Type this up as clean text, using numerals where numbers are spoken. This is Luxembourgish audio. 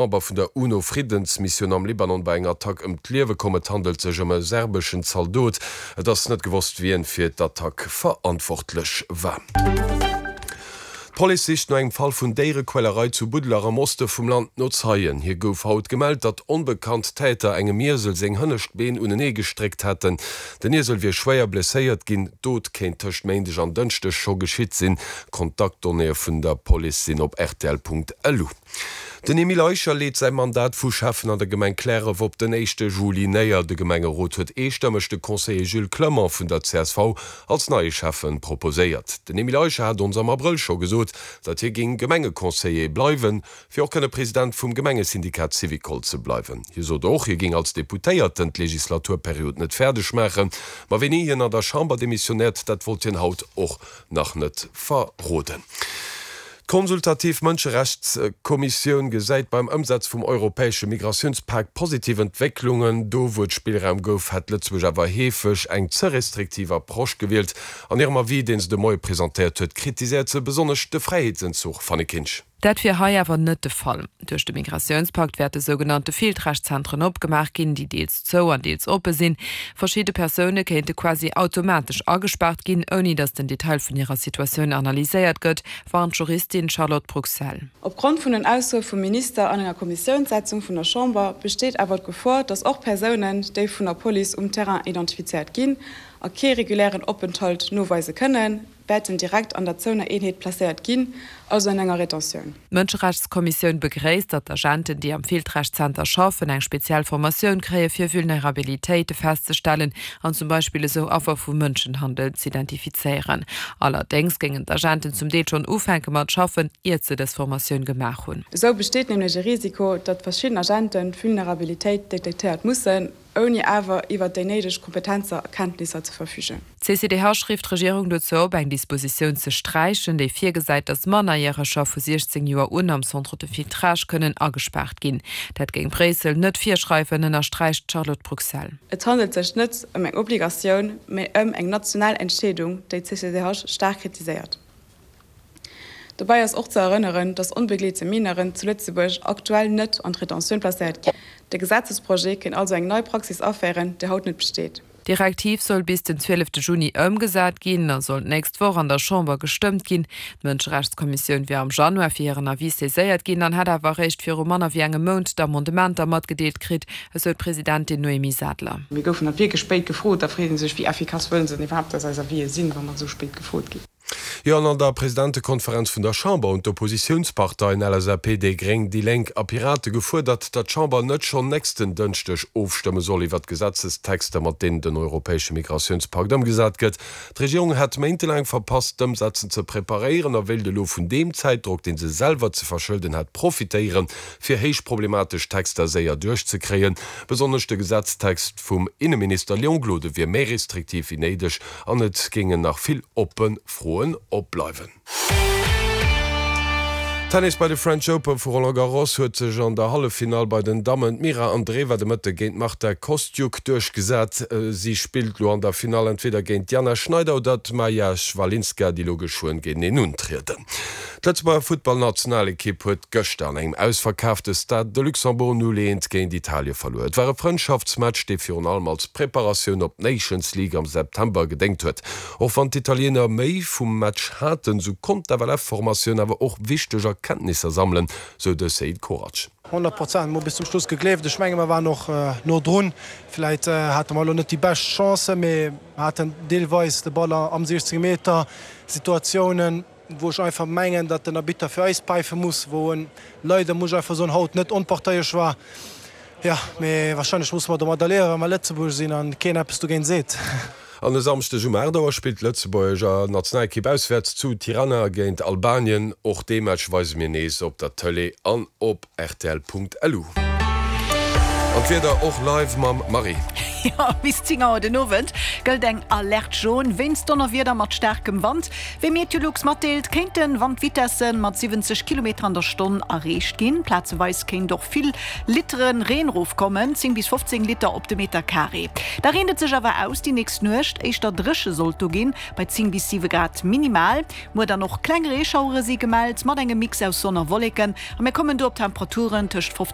Member vun der UNO-Friddensmissioun am Libanon bei enger Attack ëm d'Liewe komm. Et handelt sech ëm e serbeschen Zaldot. Et ass net gewosst, wien fir d'Attack verantwortlech war. D'Police sicht no engem Fall vun Déierequälerei zu Buddeler am Oste vum Land no Zeien. Hir gouf haut gemellt, datt onbekannt Täter engem Iesel seng hënnescht Been unenee gestréckt hätten. Den Iesel wier schwéier blesséiert ginn. D'Dot kéint tëscht Méindeg an Dënschdeg scho geschitt sinn. Kontaktdonnéeë vun der Police sinn op rtl.lu. Den Emile Eicher leet säi Mandat vu Schäffen an der Gemeng Cliärref op den éischte Juli néier. De Gemengerot huet eestëmmeg de Conseiller Jules Clement vun der csv als neie Schäffen proposéiert. Den Emile Eicher hat ons am Abrëll scho gesot, datt hie géing Gemengeconseiller bleiwen, fir och kënne President vum Gemengesyndikat Syvicol ze bleiwen. Hie sot och, hie géing als Deputéierten d'Legislaturperiod net fäerdeg maachen. Ma wéini hien an der Chamber demissionéiert, dat wollt hien haut och nach net verroden. D'Konsultativ Mënscherechtskommissioun gesäit beim Ëmsetz vum europäesche Migratiounspak positiv Entwécklungen. Do wou et Spillraum gouf, hätt Lëtzebuerg awer heefeg eng ze restriktiv Approche gewielt. An hirem Avis, deen se de Moie presentéiert huet, kritiséiert se besonnesch de Fräiheetsentzuch. Fanny Kinsch. Dat wier hei awer net de Fall. Duerch de Migratiounspakt wäerte sougenannte Filtragezentren opgemaach ginn, déi deels zou an deels oppe sinn. Verschidde Persoune kéinte quasi automatesch agespaart ginn, ouni datt den Detail vun hirer Situatioun analyséiert gëtt, warnt d'Juristin Charlotte Bruxelles. Opgrond vun den Aussoe vum Minister an enger Kommissiounssätzung vun der Chamber besteet awer d'Gefor, datt och Persounen, déi vun der Police um Terrain identifizéiert ginn a kee regulären Openthalt noweise kënnen, wäerten direkt an der zouener Eenheet placéiert ginn, also an enger Retentioun. D'Mënscherechtskommissioun begréisst, datt d'Agenten, déi am Filtragezenter schaffen, eng speziell Formatioun kréie fir Vulnerabilitéite festzestellen an zum Beispill esou Affer vu Mënschenhandel z'identifizéieren. Allerdéngs géingen d'Agenten zum Deel schonn ufänke mat schaffen, iert se dës Formatioun gemaach hunn. Esou besteet nämlech e Risiko, datt verschidden Agenten d'Vulnerabilitéit detektéiert mussen, ouni awer iwwert déi néideg Kompetenzer a Kenntnisser ze verfügen. D'CCDH rifft d'Regierung dozou op, eng Dispositioun ze sträichen, déi virgesäit, datt Mannerjäreger vu 16 Joer un am Centre de filtrage kënnen agespaart ginn. Dat géing Bréissel net virschreiwen, ënnersträicht d'Charlotte Bruxelles. Et handelt sech net ëm eng Obligatioun, mee ëm eng national Entscheedung, déi d'CCDH staark kritiséiert. Dobäi ass och ze erënneren, datt onbegleete Mineuren zu Lëtzebuerg aktuell net an d'Retentioun placéiert ginn. De Gesetzesprojet kéint also eng nei Praxis aféieren, déi haut net besteet. D'Direktiv soll bis den 12 Juni ëmgesat ginn a soll d'nächst Woch an der Chamber gestëmmt ginn. D'Mënscherechtskommissioun wier am Januar fir hiren Avis saiséiert ginn an hätt awer eréischt viru manner wéi engem Mount d'Amendementer matgedeelt kritt, esou d'Presidentin Noémie Sadler. Mir goufen halt wierklech spéit gefrot. Da freet ee sech, wéi effikass wëllen se denn iwwerhaapt, dass eis Avisë sinn, wa mer esou spéit gefrot ginn. Jo, an an der Presidentekonferenz vun der Chamber hunn d'Oppositiounsparteien LSAP, déi Gréng, déi Lénk a Pirate gefuerdert, datt d'Chamber net schonn nächsten Dënschdeg ofstëmme soll iwwert d'Gesetzestexter, mat deenen den europäesche Migratiounspakt ëmgesat gëtt. D'Regierung hätt méintelaang verpasst, d'Ëmsetzen ze preparéieren a wéilt elo vun deem Zäitdrock, dee se selwer ze verschëlden hätt, profitéieren, fir héich problematesch Texter séier duerchzekréien. Besonnesch de Gesetztext vum Inneminister Léon Gloden wier méi restriktiv wéi néideg An et géingen nach vill oppe Froen opbleiwen. Tennis Bei de French Open vu Roland Garros huet sech an der Halleffinall bei den Dammen d'Mira Andreeva de Mëtte géint d'Marta Kostyuk duerchgesat. Si spillt lo an der Finall entweder géint d'Jana Schneider oder d'Maja Chwalinska, déi lo geschwënn géinteneen untrieden. D'Lëtzebuerger Futtballnationalekipp huet gëschter an engem ausverkaafte Stade de Luxembourg 0, 1 géint Italie verluer. Et war e Frëndschaftsmatch, dee virun allem als Preparatioun op d'Nations League am September gedéngt huet. Och wann d'Italiener méi vum Match haten, sou konnt d'FLF-Formatioun awer och wichteg Erkenntnisser sammelen, sou de Seid Korac. 100 Prozent, mer hu bis zum Schluss gegleeft. Ech menge mer waren och no drun. Vläit hate mer elo net déi bescht Chancen, mee mer haten deelweis de Ball am 16 Meter, Situatiounen. wou ech einfach mengen, datt den Arbitter fir eis päife muss, wou en leider, muss ech einfach soen, haut net onparteiesch war. Jo, mee wahrscheinlech musse mer domadder liewen, well mer Lëtzebuerg sinn an keen eppes dogéint seet. An e Samschdeg um 8 Auer spillt d'Lëtzebuerger Nationalekipp auswäerts zu Tirana géint Albanien. Och dee Match weise mir nees op der Tëlee an op rtl.lu. An d'Wieder och live mam Marie. Jo, bis 10 Auer den Owend gëllt eng Alerte jaune wéinst Donnerwieder mat staarkem Wand. Wéi Meteolux matdeelt, kéinte Wandvitesse mat 70 Kilometer an der Stonn erreecht ginn. Plazeweis kéint och vill Litere Reen rofkommen, 10 bis 15 Liter op de Meter Carré. Da reent et sech awer aus déi nächst Nuecht, éischter dréche sollt do ginn, bei 10 bis 7 Grad minimal. Muer dann och kleng Reeschauere si gemellt, mat engem Mix aus Sonn a Wolleken a mir kommen do op Temperaturen tëscht 15.